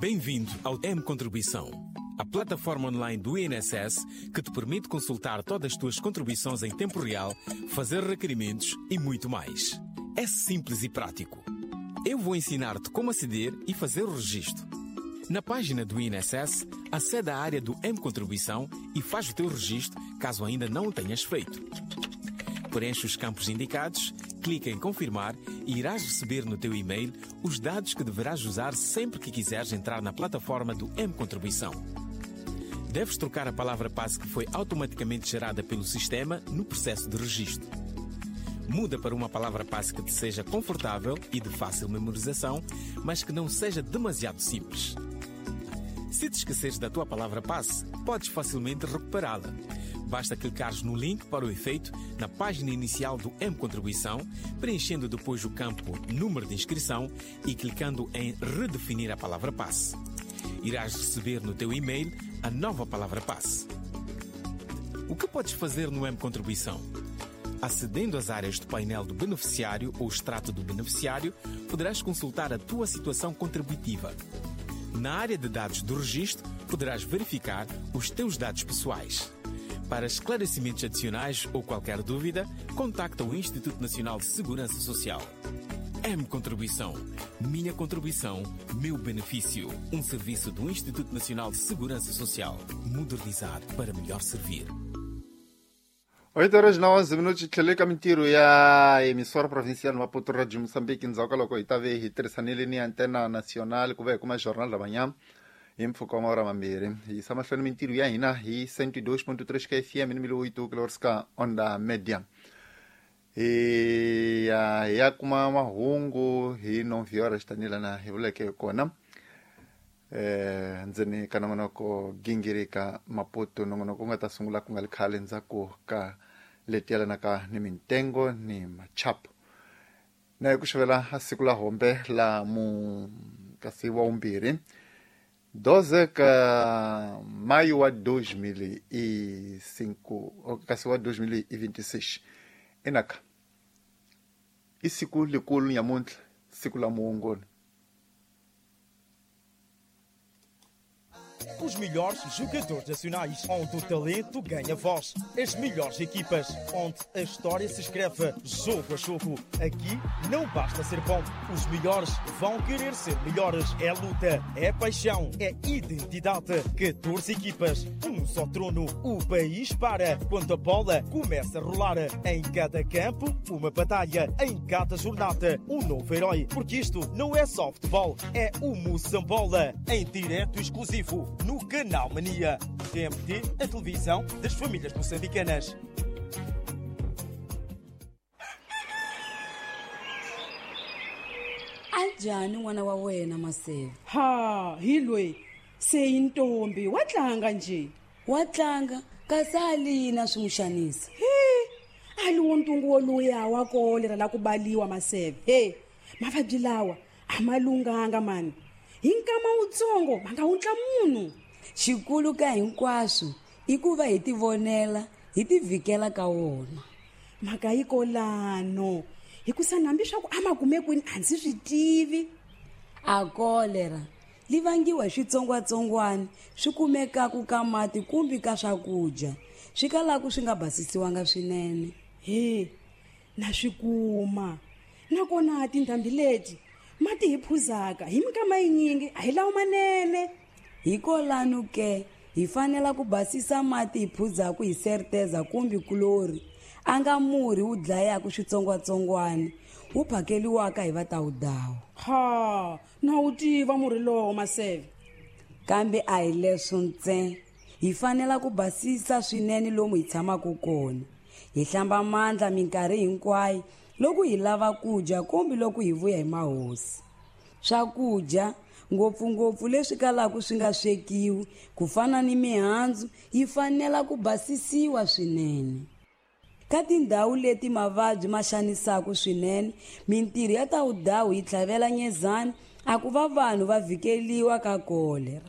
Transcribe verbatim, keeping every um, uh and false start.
Bem-vindo ao M Contribuição, a plataforma online do I N S S que te permite consultar todas as tuas contribuições em tempo real, fazer requerimentos e muito mais. É simples e prático. Eu vou ensinar-te como aceder e fazer o registro. Na página do I N S S, acede à área do M Contribuição e faz o teu registro, caso ainda não o tenhas feito. Preenche os campos indicados, clica em Confirmar e irás receber no teu e-mail os dados que deverás usar sempre que quiseres entrar na plataforma do M Contribuição. Deves trocar a palavra-passe que foi automaticamente gerada pelo sistema no processo de registro. Muda para uma palavra-passe que te seja confortável e de fácil memorização, mas que não seja demasiado simples. Se te esqueceres da tua palavra-passe, podes facilmente recuperá-la. Basta clicares no link para o efeito na página inicial do M Contribuição, preenchendo depois o campo Número de Inscrição e clicando em Redefinir a palavra-passe. Irás receber no teu e-mail a nova palavra-passe. O que podes fazer no M Contribuição? Acedendo às áreas do painel do beneficiário ou extrato do beneficiário, poderás consultar a tua situação contributiva. Na área de dados do registro, poderás verificar os teus dados pessoais. Para esclarecimentos adicionais ou qualquer dúvida, contacta o Instituto Nacional de Segurança Social. M Contribuição. Minha contribuição, meu benefício. Um serviço do Instituto Nacional de Segurança Social. Modernizar para melhor servir. oito horas na onze minutos tlhele ka mintirho ya emissora provincial Maputo Radio Moçambique ndzhaku ka loko hi ta ve hi tirhisanile ni antena nacional ku va hi kuma jornal da manhã hi mpfhuka wa maora mambirhi hi yisa mahlweni mintirho ya hina hi cento e dois ponto três ka F M ni mil oito kilohertz ka onda média hi ya hi ya kuma mahungu hi nove horas tanihilana hi vuleke hi kona eh ndzeni ka nongonoko gingirika Maputo nongonoko wu nga ta sungula ku nga ri khale ndzhaku ka leti yelanaka ni mintengo ni machapo na hi ku xavela siku la hombe la mu kasi wa vumbirhi doze ka maio wa dois mil e cinco kasi wa dois mil e vinte e seis enaka i siku likulu nyamuntlha siku la muongoni. Os melhores jogadores nacionais, onde o talento ganha voz. As melhores equipas, onde a história se escreve jogo a jogo. Aqui não basta ser bom, os melhores vão querer ser melhores. É luta, é paixão, é identidade. catorze equipas, um só trono. O país para quando a bola começa a rolar. Em cada campo, uma batalha. Em cada jornada, um novo herói. Porque isto não é só futebol, é o Moçambola. Em direto exclusivo no Canal Mania. T M T, a televisão das famílias moçambicanas. Anjani n'wana wa wena Maseve? Ha, hi loyi se i ntombi wa tlanga nje. Wa tlanga kasi a lina swi n'wi xanisa. He, a li wo ntungu woluya wa kolera la ku baliwa Maseve. He, mavabyi lawa a ma lunghanga mani. Hi nkama wutsongo va nga wutla munhu. Xikulu ka hinkwaswo i ku va hi tivonela hi tivhikela ka wona. Mhaka yi kolano hikusa hambi swa ku a ma kume kwini a ndzi swi tivi. A kolera li vangiwa hi switsongwatsongwana swi kumekaku ka mati kumbe ka swakudya swi kalaku swi nga basisiwanga swinene. He, na swi kuma nakona tindhambi leti mati hi phuzaka hi minkama yinyingi a hi lawo manene. Hikolano ke hi fanela ku basisa mati hi phuzaku hi serteza kumbe kulori a nga murhi wu dlayaku switsongwatsongwana wu phakeliwaka hi vatawudawu. Ha, na wu tiva murhi lowo Maseve. Kambe a hi leswo ntsena, hi fanela ku basisa swinene lomu hi tshamaka kona, hi hlamba mandla minkarhi hinkwayo loko hi lava ku dya kumbe loko hi vuya hi mahosi. Swakudya ngopfungopfu leswi kalaka swi nga swekiwi ku fana ni mihandzu yi fanela ku basisiwa swinene. Ka tindhawu leti mavabyi ma xanisaka swinene, mintirho ya tawudawu yi tlhavela nyezana a ku va vanhu va vhikeliwa ka kolera.